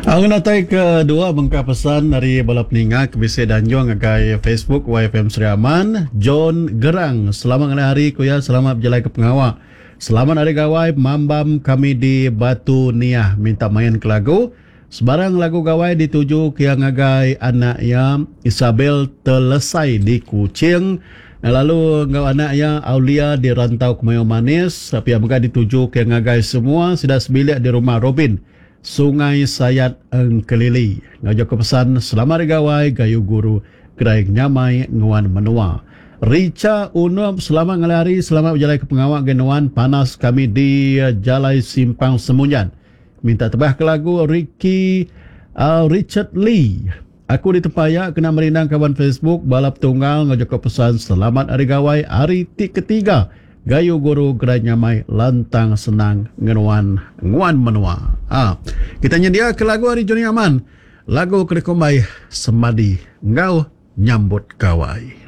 Au ngenatai ke dua bengkah pesan ari bala peninga ke bisi dianjung ngagai Facebook YFM Sri Aman, John Gerang selamat ngalih hari ku iya selamat bejalai ke pengawa. Selamat hari gawai mambam kami di Batu Niah minta main ke lagu sebarang lagu gawai dituju ke iya ngagai anak iya Isabel Telesai di Kuching lalu enggau anak iya Aulia di Rantau Kemayau Manis pia mega dituju ke iya ngagai semua sida sebilik di Rumah Robin Sungai Sayat Engkelili enggau jaku pesan Selamat Hari Gawai Gayu Guru Gerai Nyamai Nguan Menua. Richa Unup selamat ngalih hari selamat bejalai ke pengawa ngagai nuan panas kami di Jalai Simpang Semunjan. Minta tebah ke lagu Ricky Richard Lee. Aku ditempaya kena merindang kaban Facebook bala petunggal enggau jaku pesan Selamat Hari Gawai hari ti ketiga Gayu guru gerai nyamai lantang senang ngenuan nguan menua. Ha. Kita nyendia ke lagu ari Johnny Aman. Lagu ke dikumbai Semadi enggau Nyambut Gawai.